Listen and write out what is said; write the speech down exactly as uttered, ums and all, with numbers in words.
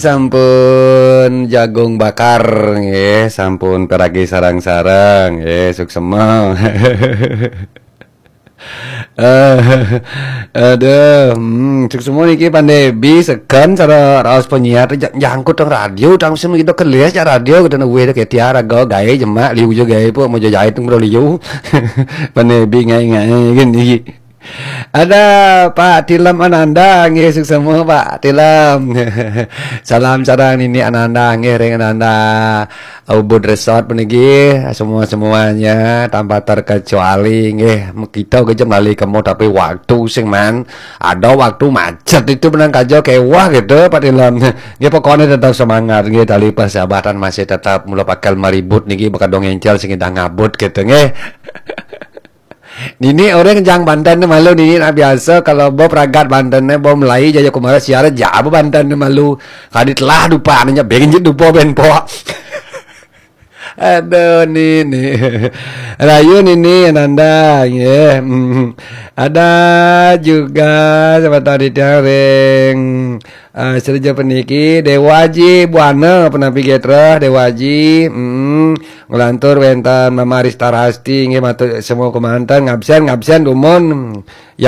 Sampun jagung bakar nggih, sampun peragi sarang-sarang nggih, suksema. Eh, aduh, hmm, suksema niki Pak Debi seken cara raos penyiar ja- jangkut teng radio, tang sing kita kelis ya radio kita weh ke tiar aga gawe jemak liu juga gawe pun mau jahit teng liu. Pak Debi ngai-ngai gini. Ada Pak Tilem Ananda, nggih suksema Pak Tilem. Salam sareng Nini Ananda, nggih ring Ananda Ubud Resort puniki, semua-semuanya tanpa terkecuali nggih. Kita ke jam lali kemo tapi waktu sing man ada waktu macet itu menang kaja kewah gitu Pak Tilem. Nggih pokoknya tetap semangat nggih tali persahabatan masih tetap mula pakai meribut niki bakal dong encel sing ngabut gitu nggih. Nini orang jang Banten ni malu nini nak biasa kalau bo pragat Banten ni bo Melayu jaya kumara siara jauh Banten ni malu kadit lah dupa nya benjit dupa ben po. Aduh nini. Rayu nini Ananda nggih. Hmm. Ada juga siapa tadi tiang ring uh, Serja peniki Dewaji Buana penampi getra Dewaji. Hmm. Ngelantur wenten Mama Rista Rasti nggih matur semua kemanten ngabsen ngabsen dumun.